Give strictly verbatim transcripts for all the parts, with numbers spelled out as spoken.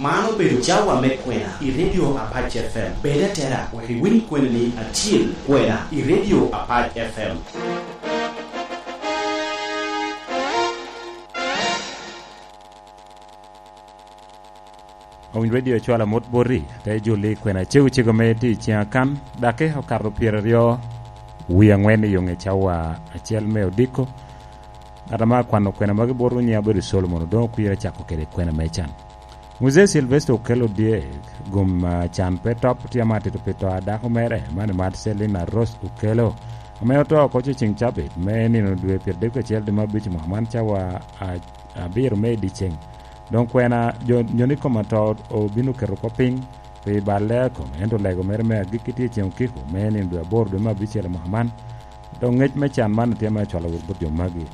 Man obedo cawa me kwena i Radio Apac F M. Bed atera wek iwiny kweni-ni acil, kwena i Radio Apac F M. Owiny Radio cwalo amut boti, te juli kwena cego cego me tye i ciŋa kan, daki okato pyeraryo wie aŋwen i yoŋe cawa acel me odiko. Ŋat ame akwano kwena magi botwu nyiŋe abedo Solomon, Odoŋo Kwir, acako kede kwena me can. Muzee Sylvester Okello Odyek, gum, ah, can pe top, tye ame atito pi to a dako mere, man i mat Selina Rose Okello, ame oto oko ce ceŋ cabit me nino dwe pyeradek kacel dwe me abic i mwaka man cawa a-, abiro me i dyeceŋ. Doŋ kwena jo, nyo ni kom ato obino keto kop piny pi balle a kome, ento lego mere me agikki tye ceŋ okiko me nino dwe aboro dwe me abicel i mwaka man. Doŋ ŋec me can man tye me acwalo wot bot jo magi.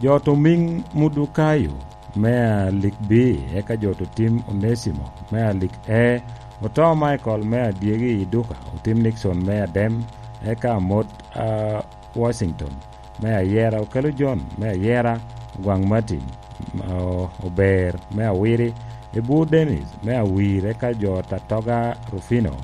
Jo oto Ming Mudukayo me alik B, eka jo oto Tim Onesimo me alik E, oto Michael me adyegi i Duka, otim Nixon me adem, eka amot, a, Washington me ayera, Okello John me ayera, Ogwaŋ Martin, o-, Ober me awiri, Ebu Dennis me awir, eka jo oto Atoga Rufino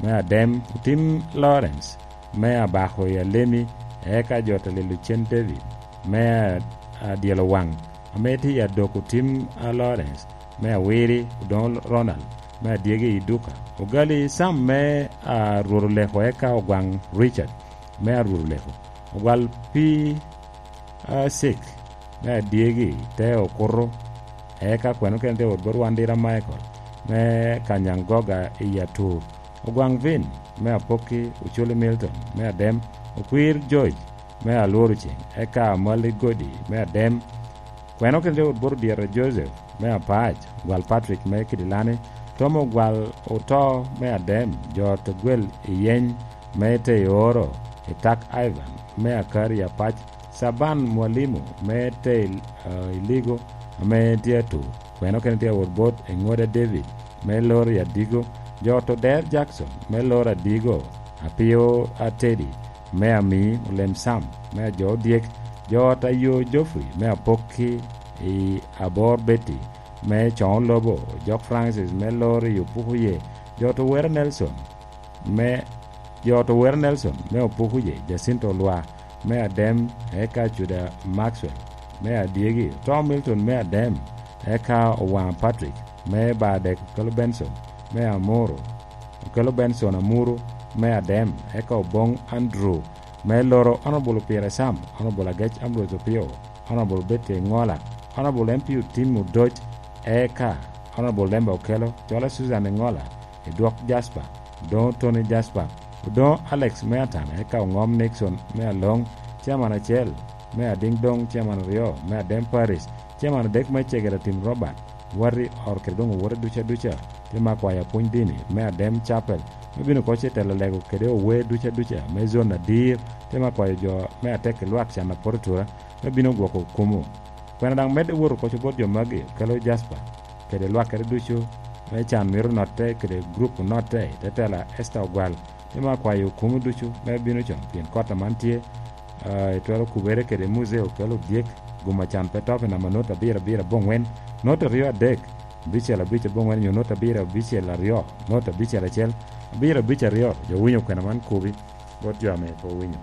me adem, otim Lawrence me abako i Alemi, eka jo oto Lelo Cen David me a-, adyelo waŋ, ame tye i Adok, otim a Lawrence me awiri, Odoŋo Ronald me adyegi i Duka, Ogali Sam me a Rwot Oleko, eka Ogwaŋ Richard me a Rwot Oleko, Ogwal Pi, a, Cik me adyegi te okuto, eka kweno kene tye wot bot Wandira Michael me Kanyangoga i Atur, Ogwaŋ Vin me Apokki, Oculi Milton me adem, Okwir George me Alworo Ceŋ, eka Amali Godi me adem. Kweno kene tye wot bot Odyeta Joseph me Apac, Ogwal Patrick me Kidilani, Tom Ogwal oto me adem, jo oto Gwel i Yeny me Teoro, Itak Ivan me Akari Apac, Caban Mwalimu me Te, eh, Iligo ame tye Atur. Kweno kene tye wot bot Eŋoda David me Lori Adigo, jo oto Der Jackson me Lori Adigo, Apio Atedi me Ami, Olem Sam me Ajo Odyek, jo oto Ayo Geoffrey me Apokki i Abor, Betty me Coŋo Lobo, Jok Francis me Lori Opukuye, jo oto Wera Nelson me, jo oto Wera Nelson me Opukuye, Jacinto Olwa me adem, eka Juda Maxwell me adyegi, oto Milton me adem, eka Owaŋa Patrick me Badek, Okello Benson me Amuru, Okello Benson Amuru me adem, eka Oboŋ Andrew me Loro, Honorable Pierre Sam, Honorable Agec Ambrose Opio, Honorable Betty Ŋola, Honorable M P Otim Odoc, eka Honorable Lembe Okello, Cola Susan Ŋola, Edwok Jasper, Odoŋo Tony Jasper, Odoŋo Alex me Atana, eka Oŋom Nixon me Aloŋ, Chairman acel me Adiŋ Doŋ, Chairman aryo me Adem Parish, Chairman adek me Cegera Tim Robert, Wati Or kede doŋ owote ducu aduca, tye me akwayo apwony dini me Adem Chapel, me bino oko ce telo lego kede owe ducu aduca me zon Adir, tye me akwayo jo me atek i lwak can a poto tura, me bino gwoko kumo. Kwena daŋ medde wot oko bot jo magi, kelo Jasper, kede lwakkere ducu, me can mito notte, kede gurup onotte, i te tela Esther Ogwal, tye me akwayo kumo ducu, me bino con, pien kot aman tye, ah, itwero kubere kede Muzee Okello Odyek, gum a can pe top i namba not abiro abiro aboŋwen, not aryo adek, abicel abic aboŋwen, nyo not abiro abicel aryo, not abicel acel, abiro abic aryo, jo winyo kwena man kubi, bot jo ame pe owinyo.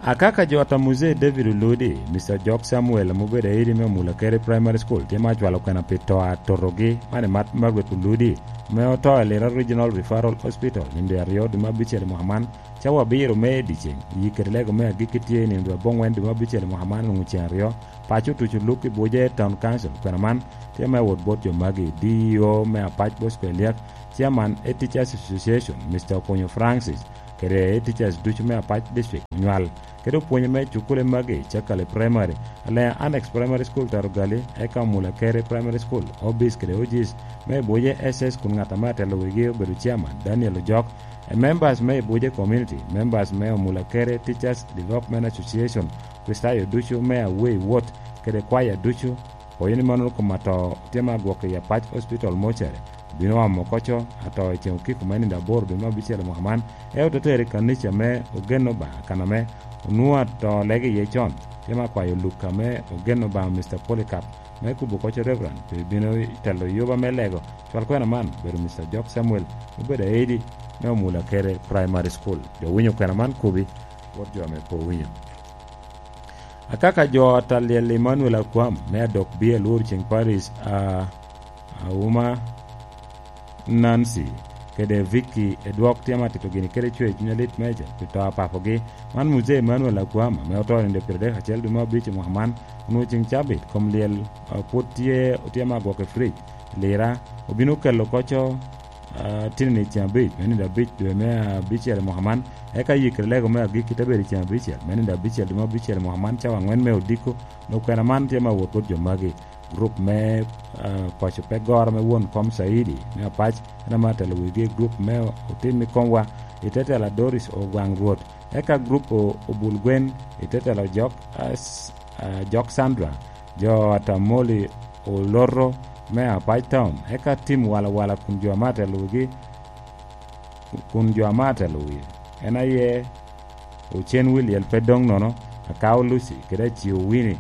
Akaka jo ata Muzee David Oludi, Mister Jok Samuel, ame obedo aidi me Omula Kerry Primary School, tye ma acwalo kwena pi to a totogi, man i mat Margaret Oludi, ame oto i Lira Regional Referral Hospital, nino dwe aryo dwe me abicel i mwaka man, cawa abiro me i dyeceŋ, yi kede lego me agikki tye i nino dwe aboŋwen dwe me abicel i mwaka man, onwoŋo ceŋ aryo, paco otuco luk i Buje Town Council. Kwena man tye me wot bot jo magi, D E O me Apac Bosco Eliak, Chairman e Teachers Association, Mister Okonyo Francis, kede Teachers ducu me Apac District Onywal, kede opwonye me cukule magi, Cakale Primary, Alea Annex Primary School Tarugali, eka Omula Kere Primary School, O Bs kede O Gs me Buje S S kun ŋat ame atelo wigi obedo Chairman Daniel Ojok, e members me Buje Community, members me Omula Kere Teachers Development Association, Kristayo ducu me Awei Wot, kede kwaya ducu, Pwoyo ni mannono kom ato tye me agwok i Apac Hospital Mortuary, Obino omo koco ato i ceŋ okiko me nino aboro dwe me abicel i mwaka man, ento te tere i kanica me Ogen Obaŋa, kan ame onwoŋo ato lege iye con. Tye me akwayo Luka me Ogen Obaŋa, Mister Polycarp, me kubo koco Reverend, pe bino i telo yuba me lego. Cwal kwena man obedo Mister Jok Samuel, obedo aidi me Omula Kere Primary School. Jo winyo kwena man kubi, wot jo ame pe owinyo. Akaka jo ata lyel Emmanuel Akwam me adok bie Lworo Ceng Parish, a, Auma Nancy kede Vicky Edwok tye ma tito gini kede cwer cuny alit meja pi to a papogi. Man Muzee Emmanuel Akwam, ame oto i nino pyeradek acel dwe me abic i mwaka man, onwoŋo ceŋ cabit, kom lyel, a, pwod tye, otye ma agwok i fridge. Lira obino kelo koco, a, tini ni ceŋ abic, me nino abic dwe me abicel i mwaka man, eka yikere lego me agikki te bedo i ceŋ abicel, me nino abicel dwe me abicel i mwaka man, cawa angwen me odiko. Dok kwena man tye ma wot wot jo magi. Gurup me, a, paco pe goro me won kom Caidi me Apac, en ame atelo wigi. Gurup me otim i komwa i te telo a Doris Ogwaŋ Rwot, eka gurup o-, Obul Gwen i te telo Jok, a, s-, a, Jok Sandra, jo Atamoli Oloto me Apac Town, eka tim walawala kun jo ame atelo wigi, kun jo ame atelo wigi en aye Ocen Williel pe doŋ nono, Akao Lucy, kede Acio Winnie,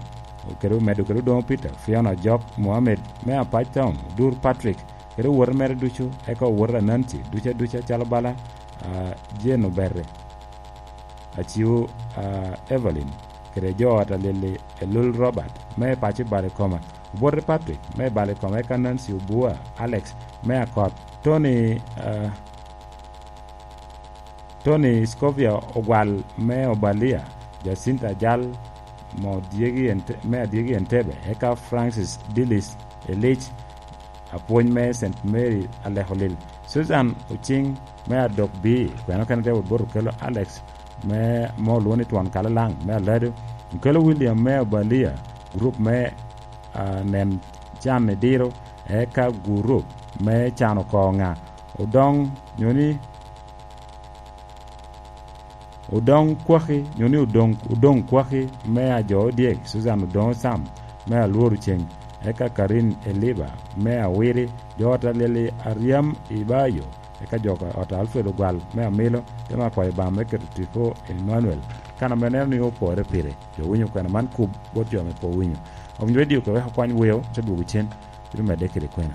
kede omedo kede Odoŋo Peter, Fiona Jok, Mohammed me Apac Town, Odur Patrick, kede owote mere ducu, eka owote Ananti, duca duca calo bala, a, Jane Obere, Acio, a, Evelyn, kede jo ot a Lili, Elul Robert, me paco i Balikoma, Obote Patrick, me Balikoma, eka Nancy Obua, Alex, me Akot, Tony, a, Tony Scovia Ogwal me Obalia, Jacinta Ajal mo dyegi Ente-, me adyegi Entebbe, eka Francis Dillis Elich, apwony me Saint Mary Alekolil, Susan Ocing me Adok Bii, kweno kene te wot bot okelo Alex me, mo olwoŋo ni Twon Kalalaŋ me Alado, okelo William me Obalia, gurup me, a, nen can i diro, eka gurup me can oko ŋa, Odoŋ, nyo ni Odoŋ Kwaki, nyo ni Odoŋ, Odoŋ Kwaki me Ajo Odyek, Susan Odoŋo Sam me Alworo Ceng, eka Karin Eliba me Awiri, jo ot a Lili Aryam i Bayo, eka jo ot a Alfred Ogwal me Amilo, te me akwayo Obaŋa me keto tipo i Emmanuel, kan ame neno ni opore pire. Jo winyo kwena man kub bot jo ame pe owinyo. Omnyo Radio kede wek okwany weo, te dwogo cen. Bino medde kede kwena.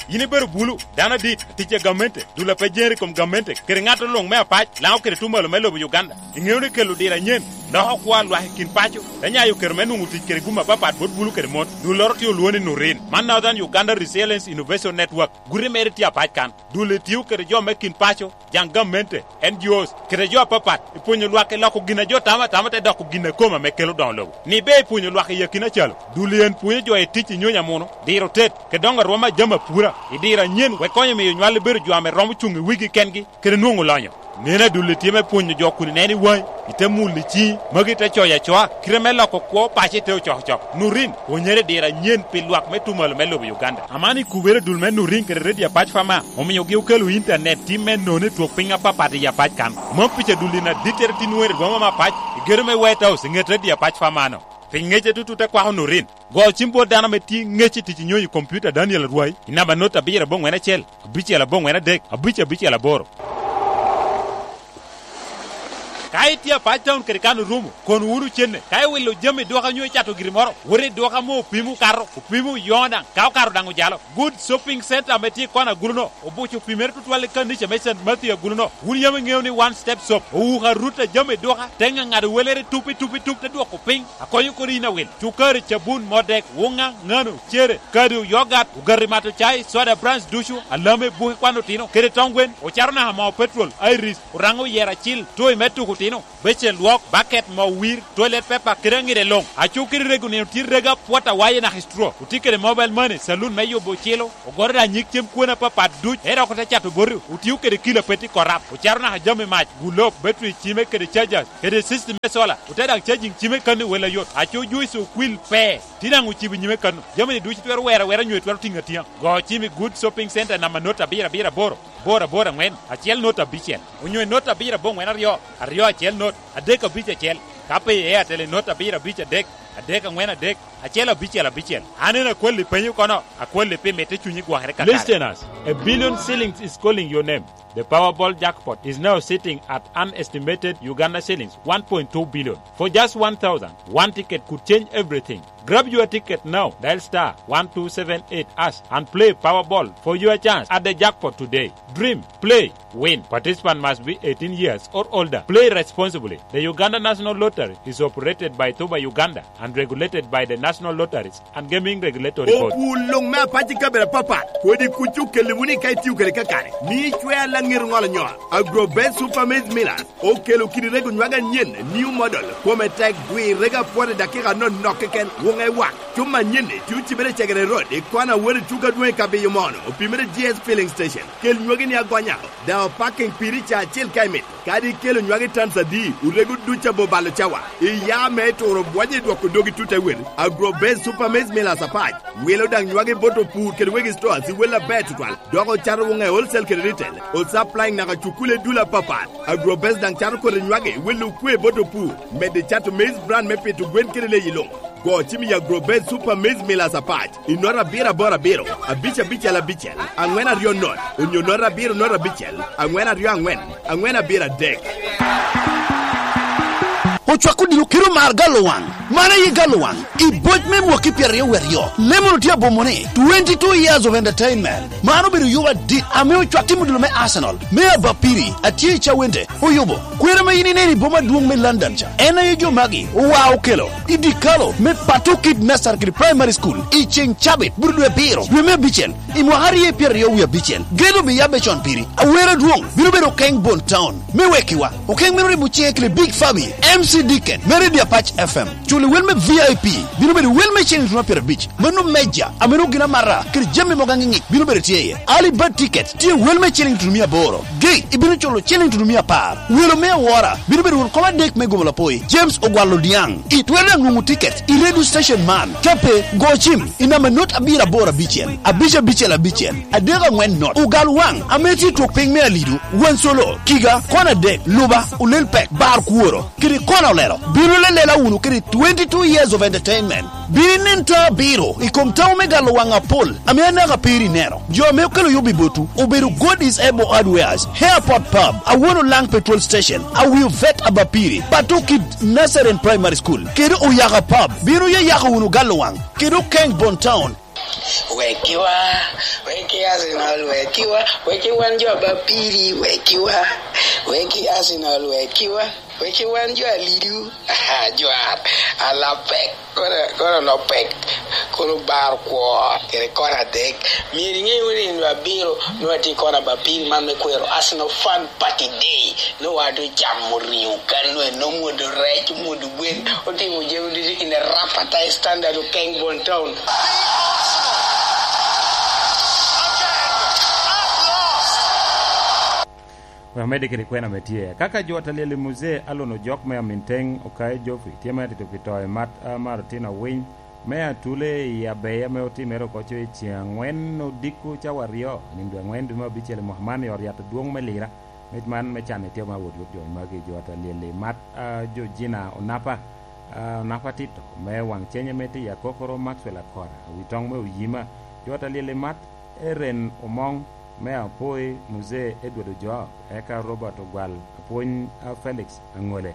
Yin ibedo bulu, dano adit, atic a gamente, dul a pe jere i kom gamente, kede ŋat luŋ me Apac, Laŋo kede Tumalo me lobo Uganda. Iŋeo ni kelo diro anyen loko kwo a lwak i kin paco, te nyayo kero me nwoŋo tic kede gum apapat bot bulu kede mon. Dulloro tye olwoŋo ni Nurin. Man Northern Uganda Resilience Innovation Network. Guti mere tye Apac kan. Dul itio kede jo me kin paco, jaŋ gamente, N G Os, kede jo apapat, i pwonyo lwak i loko gin a jo tamo atama te doko gin a kome ame kelo doŋo lobo. Ni be i pwonyo lwak i akina calo, dul i en pwonyo jo i tic i nyonyo amuno, diro tet, kede doŋo arwom a jami apura, i diro anyen, wek konyo miyo nywal i bedo jo ame romo cuŋ i wigi kengi, kede nwoŋo lonyo. Neno adul i tye me pwonyo jo kun ineno i waŋi, i te mulo i ciŋi, magi te coyo acoa, kite me loko kwo paco i te ocokocok. Nurin, pwonyere i diro anyen pi lwak me Tumalo me lobo Uganda. Aman i kubere dul me Nurin kede Radio Apac Fama, omiogi okelo intanet tim me nono i twok piny apapat i Apac kan. Mom pica dul in adittere tin weri rwoma me Apac, i gedo me White House, i ŋet Radio Apac Fama-no. Piny ŋece tutu te kwako Nurin. Go cim bot dano ame tye ŋec i tic i nyonyo i kompiuta Daniel Arwai, i namba not abiro aboŋwen acel, abicel aboŋwen adek, abic abicel aboro. Ka itye Apac Town kede kan orumo, kon wunu cenne. Ka iwilo jami i duka nyo icato giri moro, wot i duka ame opimo okato, opimo oyoŋo daŋ, ka okato daŋ ojalo. Good Shopping Center ame tye i kona agulu-no, obuco opimere tutwal i kanica me Saint Matthew agulu-no. Wun yam iŋeo ni One Step Shop owuko arut a jami i duka, te ŋaŋado welere tup i tup i tup, te dwoko piny, akonyo kodi yin awil. Cukari, cabun, modek, wuŋa, ŋano, cere, kado, yogat, ogati mato cai, soda brands ducu, alame, buke kwan otino, kede tong gwen, ocato naka moo petrol, iris, oraŋo oyero acil, toy me tuko otino, becen lwok, baket, moo wir, toilet paper, kede aŋide luŋ. Aco kede rego nino tye rego apwot awaye naka i straw. Otye kede mobile money, saloon me yubo ocilo, ogoro daŋ nyig cem kwone apapat duc, ento dok ote cato boti, otio kede kilo a pe tye korap, ocato naka jami mac, gulop, battery cime kede chargers, kede system me solar, ote daŋ charging cime kan i wel ayot. Aco juice okwil pe, tye daŋ ocibo nyime kan. Jami-ni ducu itwero wero awera nyo itwero tiŋo atiŋa. Go cim i Good Shopping Center namba not abiro abiro aboro, aboro aboro aŋwen, acel not abicel, onyo i not abiro aboŋwen aryo, aryo acel not, adek abic acel. Ka pe i Airtel i not abiro abic adek, adek aŋwen adek, acel abicel abicel. An en akwalli penyo kono, akwalli pi mitte cunyi gwokere kakare. Listeners, A billion shillings is calling your name. The Powerball jackpot is now sitting at an estimated Uganda shillings one point two billion. For just one thousand, one ticket could change everything. Grab your ticket now. Dial star one two seven eight hash and play Powerball for your chance at the jackpot today. Dream, play, win. Participant must be eighteen years or older. Play responsibly. The Uganda National Lottery is operated by Tuba Uganda and regulated by the National Lotteries and Gaming Regulatory Board. Opwul luŋ me apac i kabedo apapat, kodi kuc okelli wunu i ka itio kede kakare, ni icwer laŋet oŋolo nyol. Agrobet Super Maize Millers okelo kidi rego nywage anyen, new model, kome tek, dwi rego apwot i dakika anonok keken, wuŋe wak. Cuma anyen-ni tye ocibere i Cegere Road, i kona wot i tuko adwoŋ i Kabiyo Mono, opimere G S Filling Station. Kel nywagi ni agonya, daŋ opaking piri ca acel ka imito. Kadi ikelo nywagi tans adi, orego duc abo balo cawa. Iya me turo bwonyo i dwoko dogi tut awel. Agrobase Super Maize Millers apac wilo daŋ nywagi bot opur kede wegi stores i wel aber tutwal, dok ocato wuŋe wholesale kede retail, osupplying naka cukule i dul apapat. Agrobase daŋ cato kodi nywagi i wel okwe bot opur, medde cato maize bran me pito gwen kede leyi luŋ. Go cim i Agrobase Super Maize Millers apac i nota abiro aboro abiro, abic abicel abicel, aŋwen aryo not, onyo nota abiro not abicel, aŋwen aryo aŋwen, aŋwen abiro adek. Ocwako odilo kite omar galo waŋ. Man aye galo waŋ i boc me mwaki pyeraryo wiye aryo. Lemon otye abomo ni twenty-two years of entertainment. Man obedo yuba adit ame ocwak tim odilo me Arsenal, me Abapiri, atye i Cawende, oyubo. Kwena ma in ineno i boma adwoŋ me London ca, en aye jo magi owa okelo i dikalo me Pato Kid Nursery kede Primary School i ceŋ cabit bur dwe abiro, dwe me abicel, i mwaka aryo pyeraryo wie abicel. Gedo biyabbe con piri. Awero adwoŋ bino bedo Keng Bon Town me wekiwa. Okeng meno ribo ciŋe kede Big Fabi, M C Deacon, me Radio Apac F M. Culo wel me V I P bino bedo wel me cen i tuno pyerabic. Mano meja, ameno gin amata, kede jami mogo aŋiŋi bino bedo tye iye. Early bird ticket tye wel me ciling tutumia aboro. Gate ibino culo ciling tutumia apar. Welo me awora bino bedo won kom adek me gomo lapoi, James Ogwal Odiaŋ. Itwero daŋ nwoŋo ticket i radio station man. Ka pe, go cim i namba not abiro aboro abicel, abic abicel abicel, adek aŋwen not. Ogal waŋ ame tye i twok piny me Alidu, Wansolo, Kiga, kona adek, Luba, Olel Pek, Bar Kworo, kede kona olelo. Bino lelela wunu kede twenty-two years of entertainment. Bino inen to abiro i kom tawo me galo waŋ apol ame anaka piri ineno. Jo ame okelo yub i botwu obedo God is Able Hardwares, Airport Pub, Awono Lang Petrol Station, Awio Vet Abapiri, Pato Kid Nursery and Primary School, kede Oyaka Pub. Bino yayako wunu galo waŋ kede Okeng Bon Town. Wekiwa, weki Arsenal, wekiwa, weki wan jo Abapiri, wekiwa, weki Arsenal, wekiwa. Wek i wan jo Alidu, ajwar, alapek, kono, kono lopek, kono bar kwo, kede kona adek. Myero iŋe wunu ni nino abiro, nwoŋo atye i kona Abapiri man me kwero Arsenal Fan Party Day. Nwoŋo wan doŋ ocamo ringo kan, nwoŋo en omwodo rec, omwodo gwen, otimo jami ducu in a rapata standard Okeng Bon Town. Wek amedde kede kwena ame tye. Kaka jo Atalyel i Muzee Alon Ojok me Aminteng Okayo Geoffrey tye me atito pi to i mat a Martin Awiny me Atule i abeya ame otimere oko co i ceŋ angwen odiko cawa aryo, nino dwe angwen dwe me abicel i mwaka man i ot yat adwoŋ me Lira. Mit man me can itye ma wot wot jo magi, jo Atalyel i mat a Georgina Onapa, a, Onapa Tito me Waŋceny ame tye i Akokoro, Maxwell Akora, Awitoŋ me Oyima, jo Atalyel i mat Eren Omoŋ me Apoi, Muzee Edward Ojok, eka Robert Ogwal, apwony a Felix Aŋole,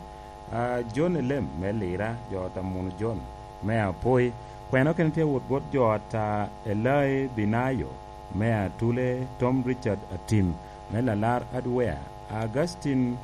a John Elem me Lira, jo ot a Munu John me Apoi. Kwena okene tye wot bot jo ot a Elai Binayo me Atule, Tom Richard Atim me Lalar Hardware, Augustine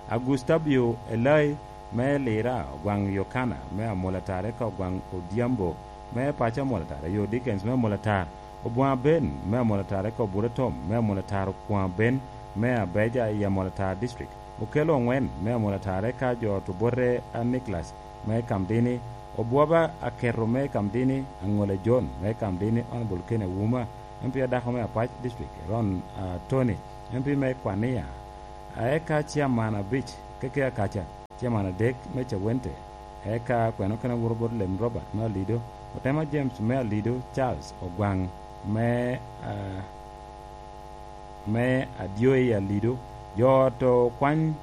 Agustabio Elai me Lira, Ogwaŋ Yokana me Amolatar, eka Ogwaŋ Odhiambo me paco Amolatar, ayo Dickens me Amolatar, Obwaŋ Aben me Amolatar, eka Obura Tom me Amolatar, Okwaŋ Aben me Abeja i Amolatar District, Okello Oŋwen me Amolatar, eka jo ot Obote a Nicholas me Kamdini, Obwoba Aketo me Kamdini, Aŋola John me Kamdini, Honorable Ken Awuma, M P adako me Apac District, Ron, ah, Tony, M P me Kwania, eka Chairman abic, Keke Akaca, Chairman adek me Cawente, eka kwena okene wuro bot Lem Robert me Alido, Otema James me Alido, Charles Ogwaŋ me, ah, me Adyoi Alido, jo ot Okwany,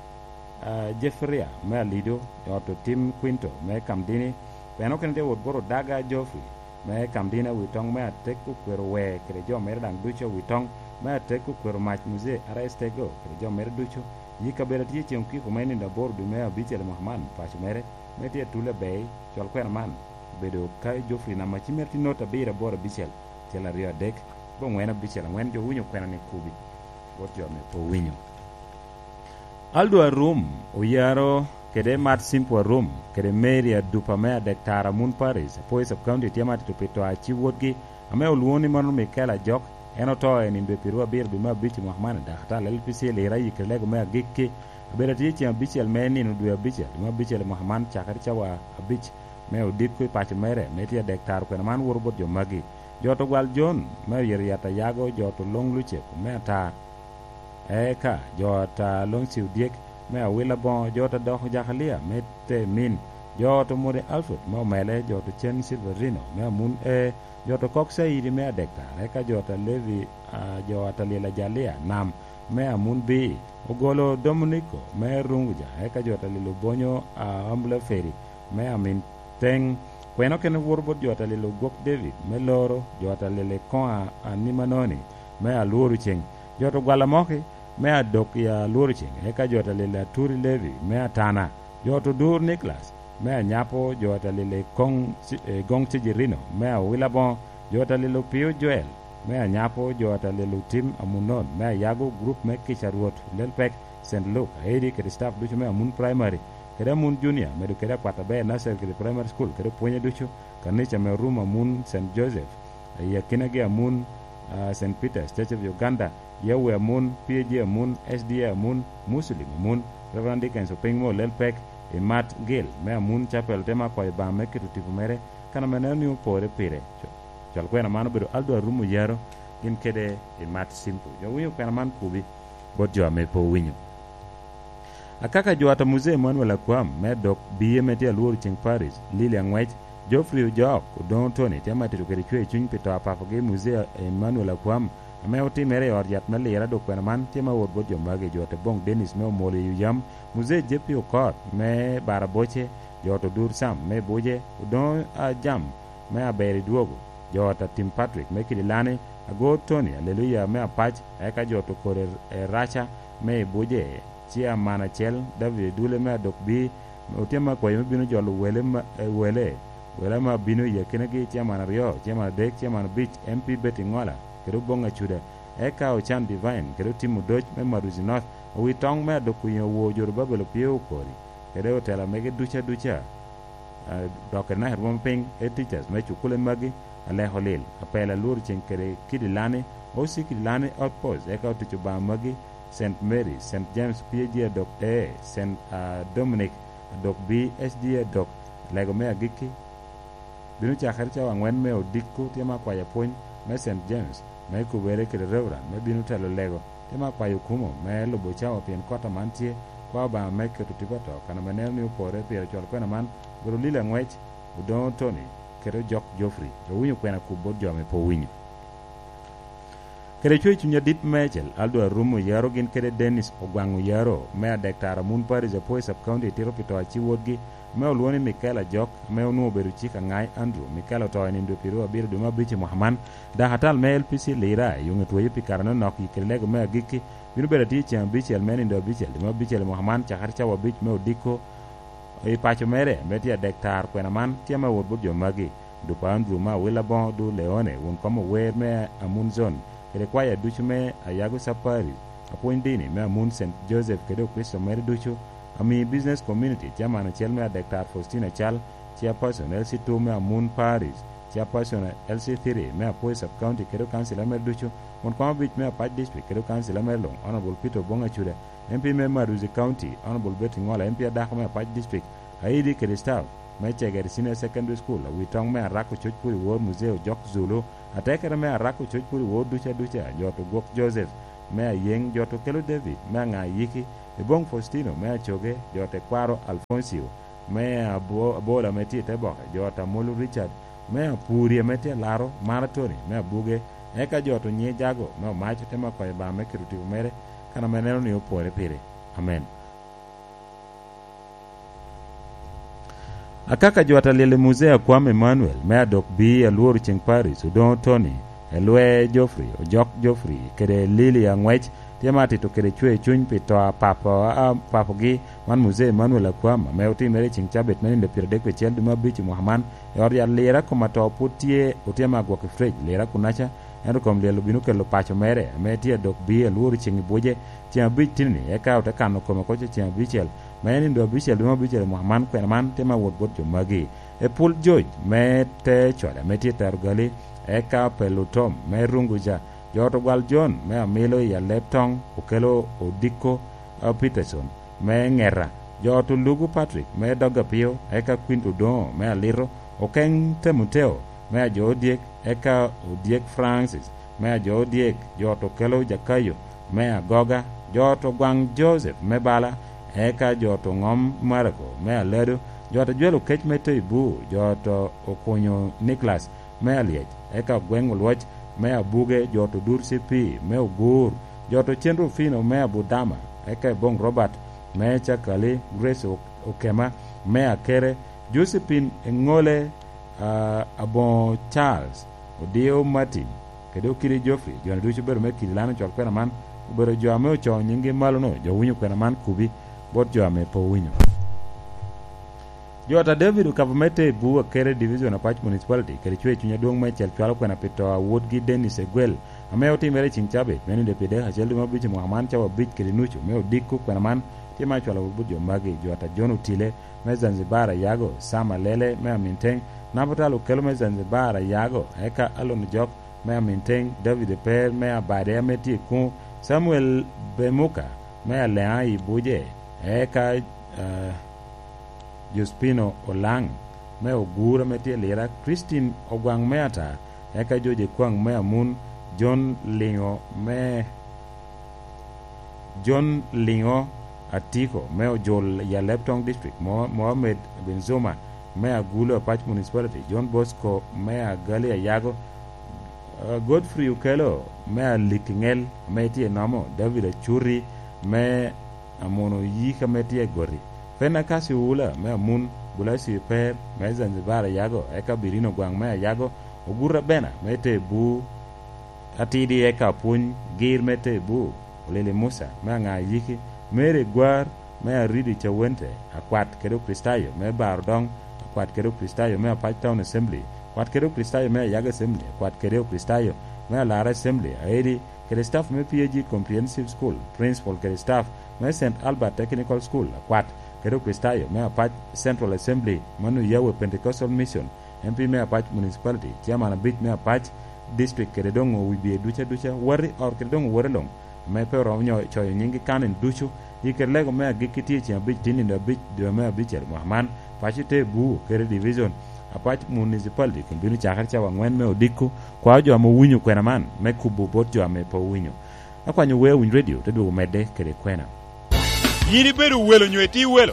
ah, Jeffria me Alido, jo ot Otim Quinto me Kamdini, kwena okene tye wot bot Odaga Geoffrey, me Kamdina Awitoŋ, me atek okwero Wee kede jo mere daŋ ducu Awitoŋ, me atek okwero Mac Muzee Ares Tego kede jo mere ducu. I kabedo atye ceŋ okiko me nino aboro dwe me abicel i mwaka man, paco mere, me tye atul abei, cwal kwena man obedo ka Geoffrey namba cim mere tye not abiro aboro abicel, cel aryo adek, bo ŋwen abicel aŋwen, jo winyo kwena ni kubi bot jo ame pe owinyo. Aldo Arum oyaro kede Mat Simple Arum kede Mary Adupa me Adek Tara Mun Paris, Apoyo Sub County, tye ma tito pi to a ci wotgi ame olwoŋo ni mano Michael Ajok. En oto i nino dwe pirwa abiro dwe me abic i mwaka man, dok atal L P C Lira yikere lego me agikki. Abedo atye ceŋ abicel me nino dwe abicel dwe me abicel i mwaka man, cakere cawa abic me odiko i paco mere, me tye Adek Tara kwena man woto bot jo magi. Jo to gwal Jon me oyito yat ayago, jo to loŋ Lucep me ata, eka jo ata loŋ Ciudyek me awila boŋo, jo to doko Jakalia me te min, jo to mode Alfred me omele, jo to cen Silverino me amun e, jo to kok Caidi me Adek Tara, eka jo to Levi, a, jo ata lila Jalia nam me amun bi, ogolo Dominiko me Runguja, eka jo to lilo Bonyo a Ambulaferi me amin teŋ. Kwena okene woto bot jo ata lilo gwok David me loro, jo ata lilo i koŋ a, a Nimanoni me alworo ceŋ. Jo to gwala moki me adok i alworo ceŋ, eka jo ata lilo Aturi Levi me atana, jo to dur Nicholas me anyapo, jo ata lilo i koŋ ci-, i goŋ Cejirino me awila boŋo, jo ata lilo Pio Joel me anyapo, jo ata lilo Tim Amunon me ayago, gurup me kica Rwot, lel pek, Saint Luke, Aidi kede staff ducu me Amun Primary, kede Amun Junior, medo kede akwat aber Nursery kede Primary School, kede pwonye ducu, kanica me Rum Amun Saint Joseph, i akinagi Amun, ah, Saint Peter's Church of Uganda, Yahweh Amun, P A G Amun, S D A Amun, Muslim Amun, Reverend Dickens Oping me Olel Pek, i Mat Gil me Amun Chapel, te ma kwayo Obaŋa me keto tipo mere, kan ame neno ni opore pire. Co-, cwal kwena man obedo Aldo Arum Oyaro, gin kede i Mat Simple. Jo winyo kwena man kubi bot jo ame pe owinyo. Akaka jo ata Muzee Emmanuel Akwam, me dok biye me tye alworo ceŋ Paris, Lili Aŋwec, Geoffrey Ojok, Odoŋo Tony, tye ma tito kede cwer cuny pi to a papagi Muzee Emmanuel Akwam, ame otimere i ot yat me Lira. Dok kwena man tye ma wot bot jo magi, jo ata Boŋ Dennis me Omolo i Oyam, Muzee J P Okot me Baraboce, jo ata Odur Sam me Buje, Odoŋo Ajam me Aber i Dwogo, jo ata Tim Patrick me Kidilani, Agor Tony, Aleluya me Apac, eka jo ata Okot Eraca me i Buje, Ciaman acel, David Dule me Adok Bii, otyem akwayo me bino jolo wele ma, eh, wele, wele ame abino i akinagi, ciaman aryo, ciaman adek, ciaman abic, M P Betty Ŋola, kede Oboŋ Acuda, eka Ocan Divine, kede Otim Odoc me Maduzi North, owi toŋ me Adok Kwinyo owo Jorubabel opye okori, kede otela mege duca duca. Ah, dok i naka rwom piny, head teachers me cukule magi, Aleko Lil, Apel Alwor Ceng kede Kidilani, O C Kidilani Outpost, eka otic Obaŋa magi, Saint Mary, Saint James P A G Adok A, Saint, ah, Dominic Adok B, S D A Adok, Lego me Agikki, bino cakere cawa aŋwen me odiko, tye ma kwayo apwony me Saint James, me kubere kede Reverend, me bino telo lego, tye ma kwayo okumo me lubo cawa, pien kot aman tye, kwa Obaŋa me keto tipo ato, kan ame neno ni opore pire cwalo kwena man, obedo Lili Aŋwec, Odoŋo Tony, kede Ojok Geoffrey. Owinyo kwena kubo bot jo ame pe owinyo. Kede cwer cuny adit meicel, Aldo Arum Oyaro gin kede Dennis Ogwaŋ Oyaro, me Adek Tara Mun Parish, Apoyo Sub County, tito pi to a ci wotgi, ame olwoŋo ni Michael Ajok, ame onwoŋo obedo cik aŋai Andrew. Michael oto i nino dwe pyeraryo abiro dwe me abic i mwaka man. Dakatal me L P C Lira, i Oŋe Tweyo pi kare anonok, i kede lego me agikki, bino bedo atir ceŋ abicel me nino abicel dwe me abicel i mwaka man, cakere cawa abic me odiko, i paco mere, me tye Adek Tara kwena man, tye ame wot bot jo magi, Dupa Andrew me Awila Boŋo Du Leone, won kom ower me Amun Zone, kede kwaya ducu me Ayago Sapari, apwony dini me Amun Saint Joseph kede Okricito mere ducu, ami Business Community, Chairman acel me Adek Tara Faustina Cal, Chairperson L C two me Amun Parish, Chairperson L C three me Apoyo Sub County kede okancila mere ducu, won kom abic me Apac District kede okancila mere luŋ, Honorable Peter Oboŋ Acuda, M P me Maduzi County, Honorable Betty Ŋola, M P adako me Apac District, Aidi kede staff me Cegere Senior Secondary School, awi toŋ me Arako Coc Puri Wor Muzee Ojok Zulu, atekere me Arako Coc Puri Wor duca duca, jo to Gwok Joseph me Ayeŋ, jo to Kelo David me Aŋa Ayiki, Eboŋ Faustino me Acoge, jo te Kwaro Alfoncio me Abo-, Abola me tye i te boke, jo ta Molo Richard me Apuri ame tye Alaro, Mara Tony me Abuge, eka jo to Nyijago me Omaco te mako i Obaŋa me keto tipo mere, kan ame neno ni opore pire. Amen. Akaka jo a ta lyel i Muzee Akwam Emmanuel me adok bi alworo ceŋ Paris, Odoŋo Tony, Elwe Geoffrey, Ojok Geoffrey, kede Lily Aŋwec, tye ma atito kede cwer cuny pi to a papo, a, a papogi, man Muzee Emmanuel Akwam, ame otimere i ceŋ cabit me nino pyeradek pi acel dwe me abic i mwaka man, i ot yat Lira kom ato pwod tye, otyem agwok i frej, Lira kunaca, ento kom lyel obino kelo paco mere, ame tye adok bi alworo ceŋ i buce, ceŋ abic tini, eka ote kano kome oko ceŋ abicel, me nino abicel dwe me abicel i mwaka man, kwena man tye me awot bot jo magi. Epul George me te Cwale ame tye i Tero Gali, eka Pelutom me Runguja, jo ot Ogwal John me Amilo i Aleb Toŋ, okelo Odiko, eh, Peterson me Ŋeta, jo ot Olugu Patrick me Dog Apio, eka Quint Odoŋo me Alito, Okeŋ Temuteo me Ajo Odyek, eka Odyek Francis me Ajo Odyek, jo ot Okelo Jakayo me Agoga, jo ot Ogwaŋ Joseph me Bala, eka jo ot Oŋom Marako me Alado, jo ot Ajwelo Kec me Toibu, jo ot Okunyo Niklas me Alyec, eka Ogweŋ Olwoc me Abuge, jo ot Odur Cipi me Ogur, jo ot Ocen Rufino me Abudama, eka Eboŋ Robert me Cakali, Grace O-, Okema me Akere, Josephine Eŋole, ah, Aboŋo Charles, Odio Martin, kede Okidi Geoffrey, jo-ni ducu obedo me kidi lano col kwena man, obedo jo ame ocoo nyiŋgi malo-nu, jo owinyo kwena man kubi bot jo ame pe owinyo. Jo ata David Okabo me Tebu, Akere Division, Apac Municipality, kede cwer cuny adwoŋ meicel cwalo kwena pi to a wotgi Dennis Egwel, ame otimere i ceŋ cabit me nino pyeradek acel dwe me abic i mwaka man, cawa abic kede nucu, me odiko kwena man tye ma acwalo wot bot jo magi, jo ata John Otile me Zanzibar Ayago, Sam Alele me Aminteŋ, Nabutal Okelo me Zanzibar Ayago, eka Alon Jok me Aminteŋ, David Eper me Abade ame tye i Kuŋo, Samuel Bemuka me Aleŋa i Buje, eka, eh, Jospino Olaŋ me Ogur ame tye i Lira, Christine Ogwaŋ me Ata, eka George Ekwaŋ me Amun, John Liŋo me, John Liŋo Atiko me Ojul i Alebtong District, Mo-, Mohammed Benzuma me Agulu Apac Municipality, John Bosco me Agali Ayago, eh, Godfrey Okelo me Alikiŋel ame tye i Nomo, David Acuti me Amono Oyik ame tye i Goti, Fenakasi Ula me Amun, Bulacio Eper me Zanzibar Ayago, eka Birino Gwaŋ me Ayago, Oguta Bena me Tebu, Atidi eka Apwony Gir me Tebu, Olili Musa me Aŋa Ayiki, Mary Gwar me Aridi Cawente, Akwat kede Okricitayo me Baro Doŋ, Akwat kede Okricitayo me Apac Town Assembly, Akwat kede Okricitayo me Ayago Assembly, Akwat kede Okricitayo me Alara Assembly, Aedi, kede staff me P A G Comprehensive School, principal kede staff me Saint Albert Technical School, Akwat kede Okricitayo me Apac Central Assembly, mano Yahweh Pentecostal Mission, M P me Apac Municipality, Chairman abic me Apac District, kede doŋ owibie duca duca, wati ot kede doŋ owote luŋ, ame pe oromo nyo coyo nyiŋgi kan en ducu, i kede lego me agikki tye ceŋ abic tin nino abic dwe me abicel mwaka man, paco te Buu kede Division, Apac Municipality kun bino cakere cawa aŋwen me odiko, kwao jo ame owinyo kwena man me kubo bot jo ame pe owinyo. Akwanyo wer Winy Radio te dwogo medde kede kwena. Yin ibedo welo nyo itye welo?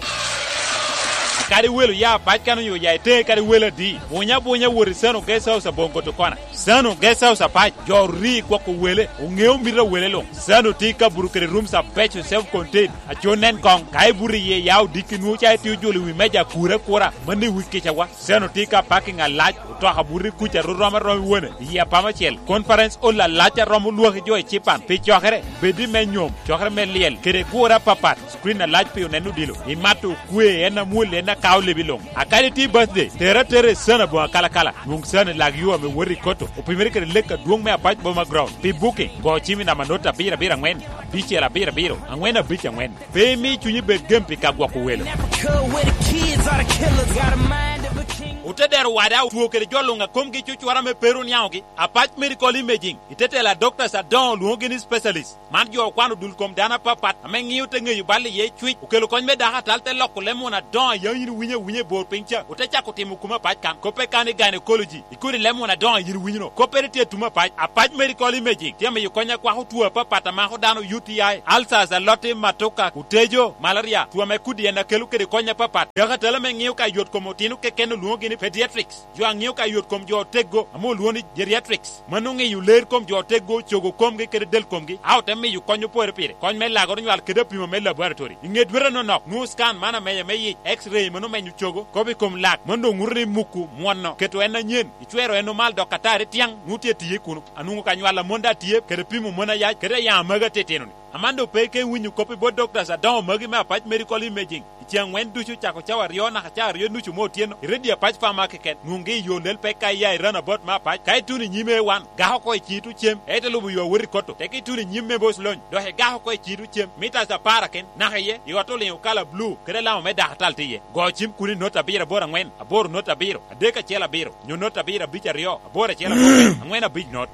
Kadi welo ya apac kan onyo ya ite kadi welo adi, bunya bunya wot i Sano Guest House aboŋo Gotokona. Sano Guest House apac, jo ori gwoko wele, oŋeo mito a wele luŋ. Sano tye i kabuto kede rooms abeco, self contained, aco nen koŋ. Ka ibuto iye ya odiki nwoŋo ca itye ojolo i wi meja akura akura, mano i wi kicawa. Sano tye ka parking alac, otoka buto i kuca ru rom arom i wone, i apama acel. Conference hall alac a romo lwaki jo i cipan pi cokere, bed i me nyom, cokere me lyel, kede gure apapat. Screen alac pi oneno odilo. Imato okwe, en amwol, en akao lebi luŋ. Akadi tye birthday, tere atera i Sano aboŋo akalakala. Nwoŋ Sano i lag yo ame wot i Koto, opimere kede lek adwoŋ me Apac Boma Ground. Pi booking, go cim i namba not abiro abiro aŋwen, abicel abiro abiro, aŋwen abic aŋwen. Pe imi cunyi bed gem pi ka gwoko welo. Never cool with the kids or the killers. Got a mind of a king. Otedero wada otwo kede jo luŋ a komgi cucura me pe ru niaŋogi. Apac Medical Imaging, i te telo a doctors adoŋo olwoŋogi ni specialist. Man jo okwano dul kom dano apapat ame ŋio te ŋeyo bal iye cwic, okelo kony me dako atal te loko leb muno adoŋo a yam yin iwinyo awinya i bor piny ca, ote cako timo kumo apac kan. Koppe kan i gynecology, i kodi leb muno adoŋo a yin iwinyo-nu. Koppere tye atum apac. Apac Medical Imaging tye amiyo kony akwako two apapat a mako dano, U T I, ulcers, aloti, matoka, otejo, malaria, two ame kudi en akelo kede kony apapat. Dako atal ame ŋio ka yot kom otino keken olwoŋogi ni Pediatrics, jo a ŋeo ka yot kom jo oteggo, ame olwoŋo ni geriatrics, mano ŋeyo ler kom jo oteggo, cogo komgi kede del komgi, a ote miyo kony opore pire, kony me lagoro nywal kede apimo me laboratory. I ŋe dwete anonok, nwoŋo scan man amenya me yic, X-ray mano menyo cogo, kop i kom lak, mano doŋ ŋuto ni muku mwono, keto en anyen, icwero en omal dok atari tyaŋ, nwoŋo tye atiye kuno. Anwoŋo ka nywal amonda atye, kede pimo mon ayac, kede ayaŋ amagi atitino-ni. Amando pe ka iwinyo kop i bot doctors adoŋo magi me Apac Medical Imaging. I ceŋ aŋwen ducu cako cawa aryo naka cawa aryo nucu me otyeno, i redio Apac Pharmacy keken, nwoŋgi i yo lel pek ka iya i runabout me Apac, ka ituno i nyim A one, gako oko i ciŋ tucem, ite lubo yo awot i Kotto, teke ituno i nyim me Bos Lony, dok igako oko i ciŋ tucem, mitas apar aken, naka iye, i ot oliŋo kala blu, kede alama me dakatal tye iye. Go cim kuno i not abiro aboro aŋwen, aboro not abiro, adek acel abiro, nyo not abiro abic aryo, aboro acel aboro, aŋwen abic not.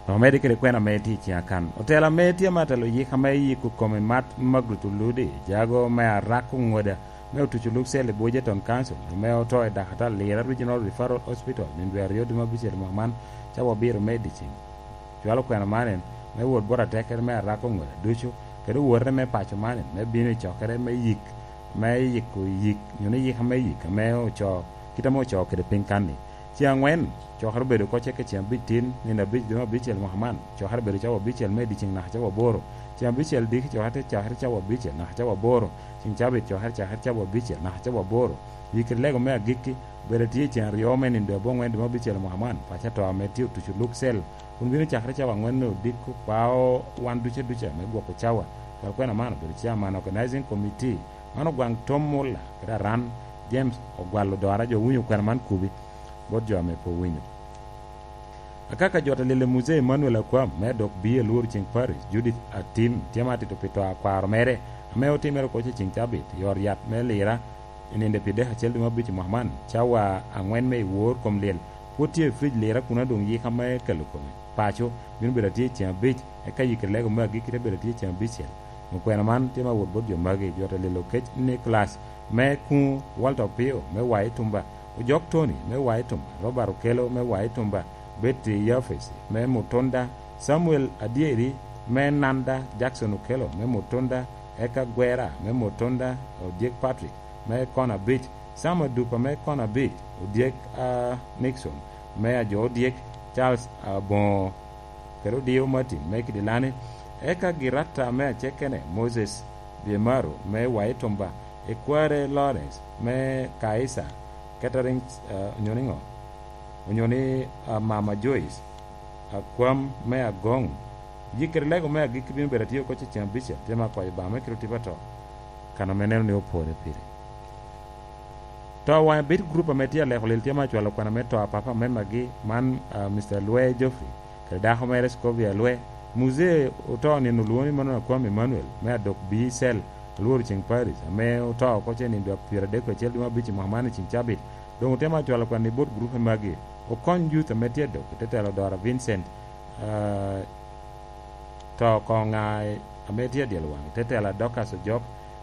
Omedde kede kwena ame tye i ciŋa kan. Otela ame tye me atelo yik ame yiko kome Mat Magret Oludi, jago me Arak Oŋoda, me otuco lub cel i Bujeton Council, ame oto i Dakatal Lira Regional Referral Hospital, nino dwe aryo dwe me abicel mwaka man, cawa abiro me i dyeceŋ. Cwalo kwena man en, me wot bot atekere me Arak Oŋoda ducu, kede owote me paco man en, me bino i cokere me yik, me yiko yik, nyo ni yik ame yik, ame oco, kit ame oco kede piny kan-ni. Ceŋ aŋwen, cokere obedo oko ceke ceŋ abic tin, nino abic dwe me abicel mwaka man, cokere obedo cawa abicel me i dyeceŋ naka cawa aboro. Ceŋ abicel diki cokere te cakere cawa abicel naka cawa aboro. Ceŋ cabit cokere cakere cawa abicel naka cawa aboro. Yikere lego me agikki, obedo atye i ceŋ aryo me nino dwe aboŋwen dwe me abicel mwaka man, paco ato ame tye otuco luk cel, kun bino cakere cawa aŋwen me odiko, kwao wan duca duca me gwoko cawa. Cwal kwena man obedo chairman organizing committee, man ogwaŋ Tom Muller, kede Aran James Ogwal Odora, jo winyo kwena man kubi. Bot jo ame pe owinyo. Akaka jo te lilo Muzei Emmanuel Akwam me dok bi e Lworo Ceng Parish, Judith Atim, tye ma atito pi to a kwaro mere, ame otimere oko i ceŋ cabit, i ot yat me Lira, i nino pi dek acel dwe me abic i mwaka man, cawa aŋwen me i wor kom lyel, pwod tye i fridge Lira kuno doŋ yika me kelo kome. Paco, bino bedo atye i ceŋ abic, eka yikere lego me agikki te bedo atye i ceŋ abicel. Okwena man tye me awot bot jo magi, jo te lilo kec Nicholas me Kuŋo, Walter Opio me Wai Tumba, Ojok Tony me Wai Tumba, Robert Okello me Wai Tumba, Betty Yafes me Mutunda, Samuel Adyeri me Nanda, Jackson Okello me Mutunda, eka Gwera me Mutunda, Odyek Patrick me Kona Beach, Sam Adupa me Kona Beach, Odyek, ah, Nixon me Ajo Odyek, Charles Aboŋo, kede Odio Martin me Kidilani, eka Giratta me Acekene, Moses Biemaro me Wai Tumba, Ekware Lawrence me Kaisa Catering, eh, onyo ni ŋo? Onyo ni, ah, Mama Joyce, Akwam me Agoŋ. Yikere lego me agikki bino bedo atye oko i ceŋ abicel, tye me akwayo Obaŋa me kite otipo ato, kan ame neno ni opore pire. To waŋe bit gurup ame tye aleko lil tye me acwalo kwana me to a papa me magi man, ah, Mister Lwe Geoffrey, kede dako mere Scovia Lwe. Muzee oto nino olwoŋo ni mano Akwam Emmanuel me Adok Bii Cell, Alworo Ceng Parish, ame oto oko ce nino dwe pyeradek acel dwe me abic i mwaka man i ceng cabit. Doŋ otemo acwalo kwan i bot gurupe magi, okony youth ame tye adok, i te telo Dora Vincent, ah, to koŋ ŋa ame tye adyel waŋ, i te telo Dorcas Ojok,